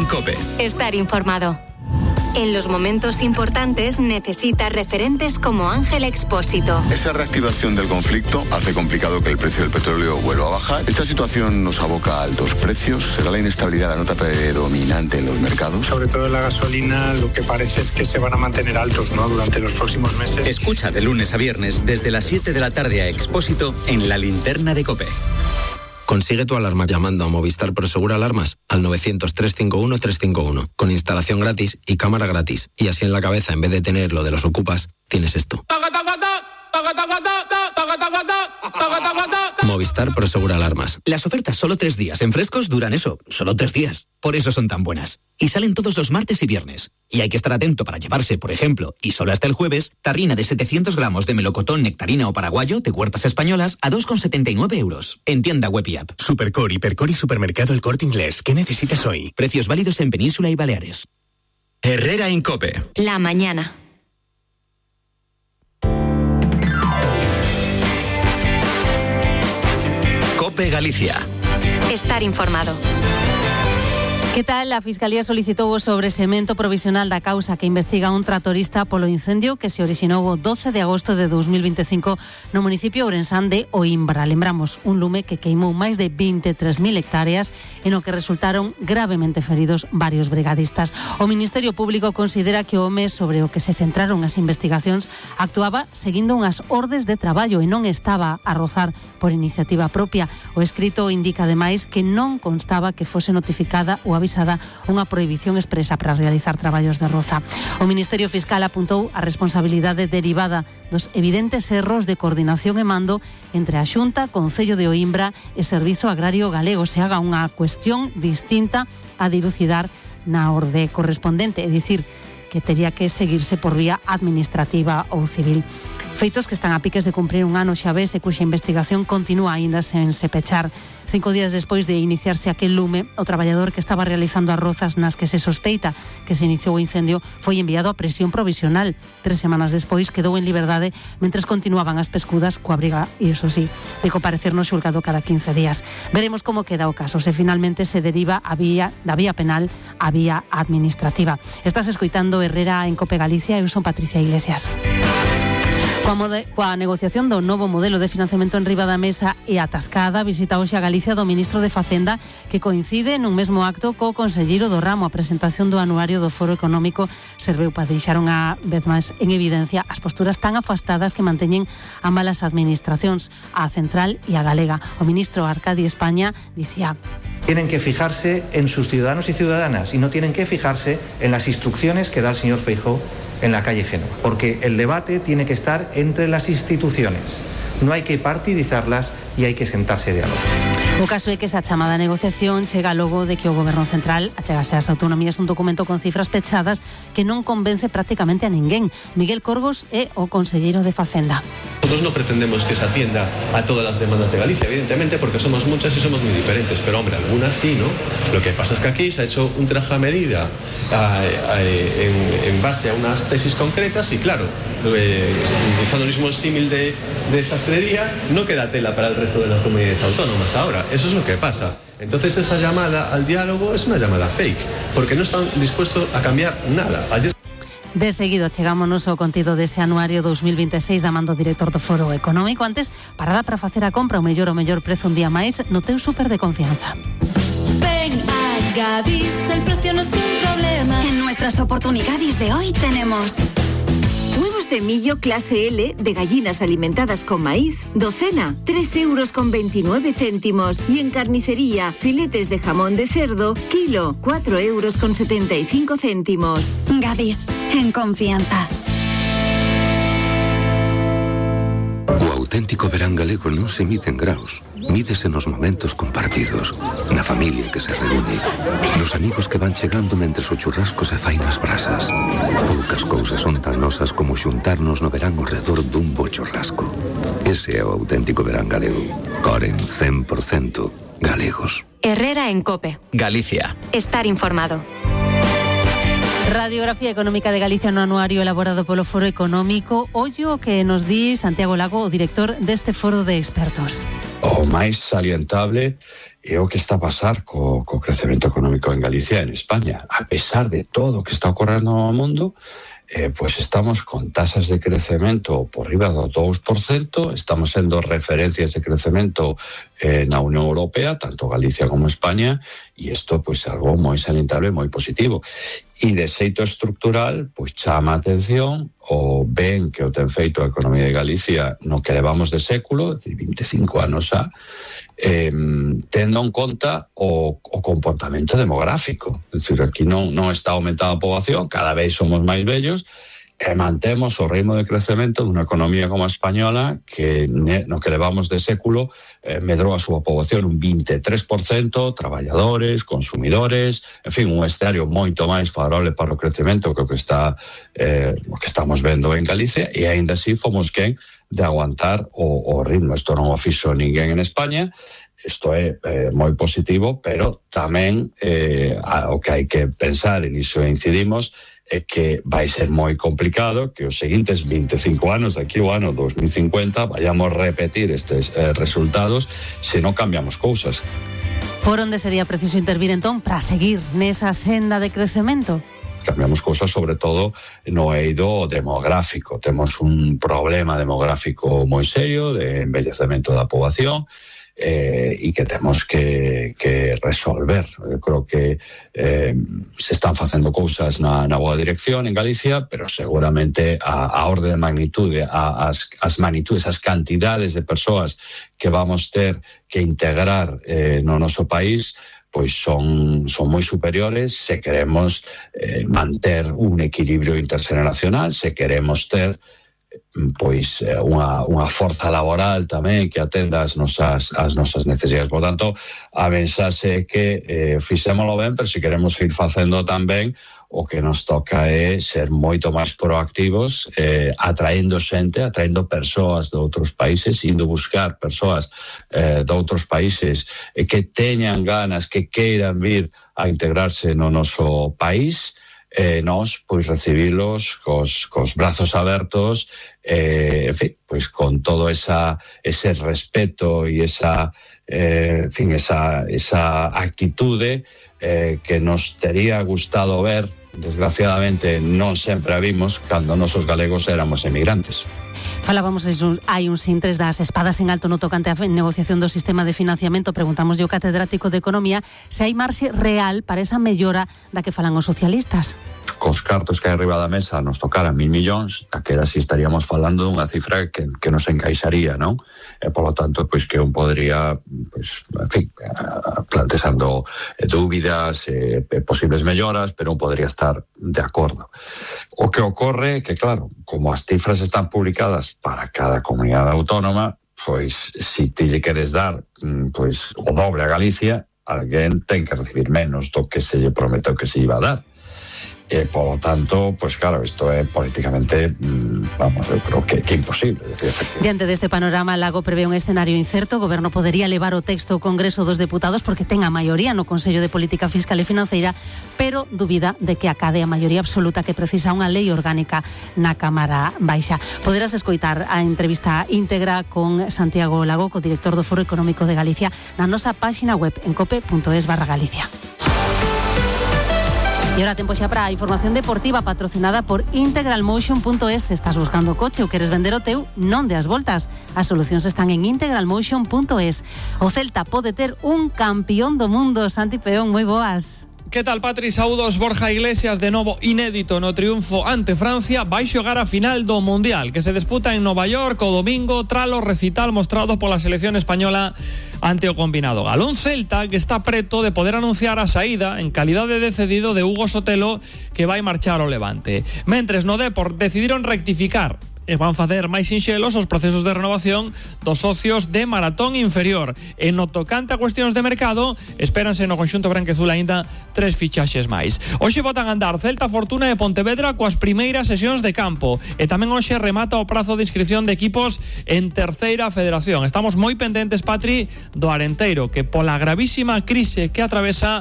en COPE. Estar informado. En los momentos importantes necesita referentes como Ángel Expósito. Esa reactivación del conflicto hace complicado que el precio del petróleo vuelva a bajar. Esta situación nos aboca a altos precios. ¿Será la inestabilidad la nota predominante en los mercados? Sobre todo en la gasolina, lo que parece es que se van a mantener altos, ¿no?, durante los próximos meses. Escucha de lunes a viernes desde las 7 de la tarde a Expósito en La Linterna de COPE. Consigue tu alarma llamando a Movistar Prosegur Alarmas al 900-351-351, con instalación gratis y cámara gratis. Y así en la cabeza, en vez de tener lo de los ocupas, tienes esto. Movistar Prosegur Alarmas. Las ofertas solo 3 días en Frescos duran eso, solo 3 días. Por eso son tan buenas. Y salen todos los martes y viernes. Y hay que estar atento para llevarse, por ejemplo, y solo hasta el jueves, tarrina de 700 gramos de melocotón, nectarina o paraguayo de Huertas Españolas a 2,79 euros. En tienda web y app. Supercore, Hipercore y Supermercado El Corte Inglés. ¿Qué necesitas hoy? Precios válidos en Península y Baleares. Herrera en COPE. La mañana. COPE Galicia. Estar informado. Que tal? A Fiscalía solicitou o sobresemento provisional da causa que investiga un tratorista polo incendio que se orixinou o 12 de agosto de 2025 no municipio ourensán de Oimbra. Lembramos, un lume que queimou máis de 23.000 hectáreas e no que resultaron gravemente feridos varios brigadistas. O Ministerio Público considera que o home sobre o que se centraron as investigacións actuaba seguindo unhas ordes de traballo e non estaba a rozar por iniciativa propia. O escrito indica ademais que non constaba que fose notificada ou avisada unha prohibición expresa para realizar traballos de roza. O Ministerio Fiscal apuntou a responsabilidade derivada dos evidentes erros de coordinación e mando entre a Xunta, Concello de Oimbra e Servizo Agrario Galego. Se haga unha cuestión distinta a dilucidar na orde correspondente, é dicir, que tería que seguirse por vía administrativa ou civil. Feitos que están a piques de cumprir un ano xa ves e cuxa investigación continúa aínda sen se pechar. 5 días despois de iniciarse aquel lume, o traballador que estaba realizando as rozas nas que se sospeita que se iniciou o incendio foi enviado a prisión provisional. 3 semanas despois quedou en liberdade mentres continuaban as pescudas coa briga, e iso sí, de comparecer no xulgado cada 15 días. Veremos como queda o caso, se finalmente se deriva da vía penal a vía administrativa. Estás escoitando Herrera en COPE Galicia, eu son Patricia Iglesias. Coa negociación do novo modelo de financiamento en riba da mesa e atascada, visita hoxe a Galicia do Ministro de Facenda, que coincide nun mesmo acto co conselleiro do ramo. A presentación do anuario do Foro Económico serveu para deixar unha vez máis en evidencia as posturas tan afastadas que manteñen ambas as administracións, a central e a galega. O ministro Arcadi España dicía: tienen que fijarse en sus ciudadanos y ciudadanas y no tienen que fijarse en las instrucciones que da el señor Feijóo en la calle Génova, porque el debate tiene que estar entre las instituciones. No hay que partidizarlas e hai que sentarse a diálogo. O caso é que esa chamada negociación chega logo de que o Goberno Central achegase ás autonomías un documento con cifras pechadas que non convence prácticamente a ninguén. Miguel Corgos é o conselleiro de Facenda. Nosotros no pretendemos que se atienda a todas las demandas de Galicia, evidentemente, porque somos muchas y somos muy diferentes, pero hombre, algunas sí, ¿no? Lo que pasa es que aquí se ha hecho un traje a medida en base a unas tesis concretas y claro, utilizando el mismo símil de sastrería, no queda tela para el resto de las comunidades autónomas ahora. Eso es lo que pasa. Entonces esa llamada al diálogo es una llamada fake, porque no están dispuestos a cambiar nada. De seguido chegámonos ao contido dese anuario 2026 da man do director do Foro Económico. Antes, parada para facer a compra o mellor prezo un día máis no teu súper de confianza. Ven a Gadis, el precio no es un problema. En nuestras oportunidades de hoy tenemos huevos de millo clase L de gallinas alimentadas con maíz, docena, 3,29 €. Y en carnicería, filetes de jamón de cerdo, kilo, 4,75 €. Gadis, en confianza. O auténtico verán galego non se mide en graos, mídese nos momentos compartidos, na familia que se reúne, nos amigos que van chegando mentres o churrasco se fai nas brasas. Poucas cousas son tan nosas como xuntarnos no verán ao redor dun bo churrasco. Ese é o auténtico verán galego. Coren 100% galegos. Herrera en COPE. Galicia. Estar informado. Radiografía económica de Galicia no anuario elaborado polo Foro Económico. Ollo que nos di Santiago Lago, o director deste foro de expertos. O máis salientable é o que está a pasar co crecemento económico en Galicia e en España. A pesar de todo o que está ocorrendo no mundo, pues estamos con tasas de crecemento por riba do 2%, estamos sendo referencias de crecemento na Unión Europea, tanto Galicia como España, e isto pues é algo moi salientable, moi positivo. E de xeito estructural, pues chama a atención o ben que o ten feito a economía de Galicia no que levamos de século, é dicir, 25 anos xa, tendo en conta o comportamento demográfico. É dicir, aquí non está aumentada a poboación, cada vez somos máis vellos, e mantemos o ritmo de crecemento dunha economía como a española que no que levamos de século medrou a súa poboación un 23%, traballadores, consumidores, en fin, un escenario moito máis favorable para o crecemento que o que estamos vendo en Galicia, e aínda así fomos quen de aguantar o ritmo. Isto non o fixo ninguén en España. Isto é moi positivo, pero tamén o que hai que pensar, e niso incidimos, é que vai ser moi complicado que os seguintes 25 anos, daqui ao ano 2050, vayamos repetir estes resultados se non cambiamos cousas. Por onde sería preciso intervir entón para seguir nesa senda de crecemento? Cambiamos cousas sobre todo no eido demográfico. Temos un problema demográfico moi serio de envellecemento da poboación, e que temos que resolver. Eu creo que se están facendo cousas na boa dirección en Galicia, pero seguramente a orde de magnitude, as magnitudes, as cantidades de persoas que vamos ter que integrar no noso país, pois son moi superiores se queremos manter un equilibrio interxeneracional, se queremos ter pois unha forza laboral tamén que atenda as nosas necesidades. Por tanto, a mensaxe é que fixémolo ben, pero se queremos ir facendo tamén, o que nos toca é ser moito máis proactivos, atraendo xente, atraendo persoas de outros países, indo buscar persoas de outros países que teñan ganas, que queiran vir a integrarse no noso país, nós pois recibilos cos brazos abertos, en fin, pois con todo ese respeto e esa actitude que nos tería gustado ver. Desgraciadamente non sempre a vimos cando nosos galegos éramos emigrantes. Falábamos hai uns intres das espadas en alto no tocante a negociación do sistema de financiamento. Preguntamos ao catedrático de Economía se hai marxe real para esa mellora da que falan os socialistas. Cos cartos que hai arriba da mesa nos tocaran 1.000 millóns, daquela si estaríamos falando dunha cifra que nos encaixaría, non? E, polo tanto, pois que un podría, pois, en fin, plantexando dúbidas, posibles melloras, pero un podría estar de acordo. O que ocorre é que, claro, como as cifras están publicadas para cada comunidade autónoma, pois, si ti lle queres dar pois o doble a Galicia, alguén ten que recibir menos do que se lle prometeu que se iba a dar. Por lo tanto, pues claro, isto é políticamente, eu creo que imposible. Decir, diante deste panorama, Lago prevé un escenario incerto. O Goberno podería levar o texto ao Congreso dos Deputados porque ten a maioría no Consello de Política Fiscal e Financeira, pero dubida de que acade a maioría absoluta que precisa unha lei orgánica na Cámara Baixa. Poderás escoitar a entrevista íntegra con Santiago Lago, co director do Foro Económico de Galicia, na nosa páxina web en cope.es/Galicia. E ahora tempo xa para a información deportiva patrocinada por integralmotion.es. Se estás buscando coche ou queres vender o teu, non deas voltas. As solucións están en integralmotion.es. O Celta pode ter un campeón do mundo. Santi Peón, moi boas. Que tal, Patri? Saúdos. Borja Iglesias, de novo inédito no triunfo ante Francia, vai xogar a final do Mundial, que se disputa en Nova York o domingo tras o recital mostrado pola selección española ante o combinado galón. Celta que está preto de poder anunciar a saída en calidade de cedido de Hugo Sotelo, que vai marchar ao Levante. Mentres no Depor decidiron rectificar e van facer máis sinxelos os procesos de renovación dos socios de Maratón Inferior. E no tocante a cuestións de mercado, espéranse no conxunto branquezul aínda 3 fichaxes máis. Hoxe botan a andar Celta, Fortuna e Pontevedra coas primeiras sesións de campo, e tamén hoxe remata o prazo de inscripción de equipos en Terceira Federación. Estamos moi pendentes, Patri, do Arenteiro, que pola gravísima crise que atravesa